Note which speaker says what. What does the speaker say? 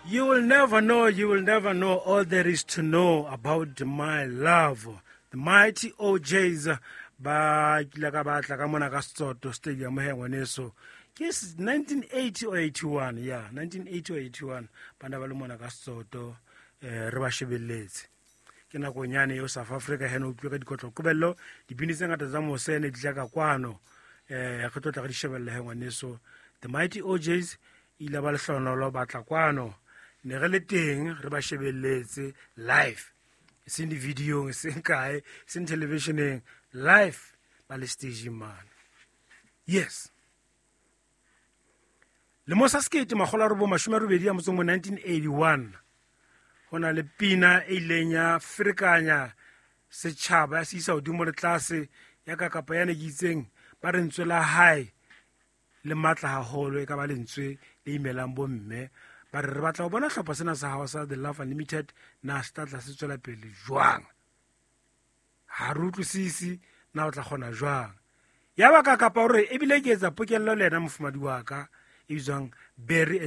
Speaker 1: You will never know, you will never know all there is to know about my love. The Mighty OJs ba kile ka batla ka mona ka Setsoto Stadium he ngwaneso. Ke 1980 or 81, yeah, 1980 or 81 bana ba le mona ka Setsoto re ba shebelletse. Ke nakonyane eo South Africa he no utlwe ka dikotlo qobello dibini tse ngata tsa mose ne di tla ka kwano re tlo tla re di shebella he ngwaneso. The Mighty OJs ile ba lehlonolo ba tla kwano ne re le teng re ba shebelletse live, e seng di-videong, e seng kae, e seng televisioneng, live ba le stageng mane. Yes, lemo sa 1981, 1981, go na le pina e ileng ya ferekanya setšhaba ya se isa godimo le tlase ya ka kapa ya ne ke itseng ba re ntswe la hae le matla haholo, e ka ba lentswe le imelang bomme ba re re batla go bona hlopha sena sa gago sa The Love Unlimited na se tla tla se tswela pele jwang, ga re utlwisise na o tla kgona jwang. Ya ba ka kapa gore ebile ke etsa pokelelo le yena mofumadi wa ka e bitswang Barry and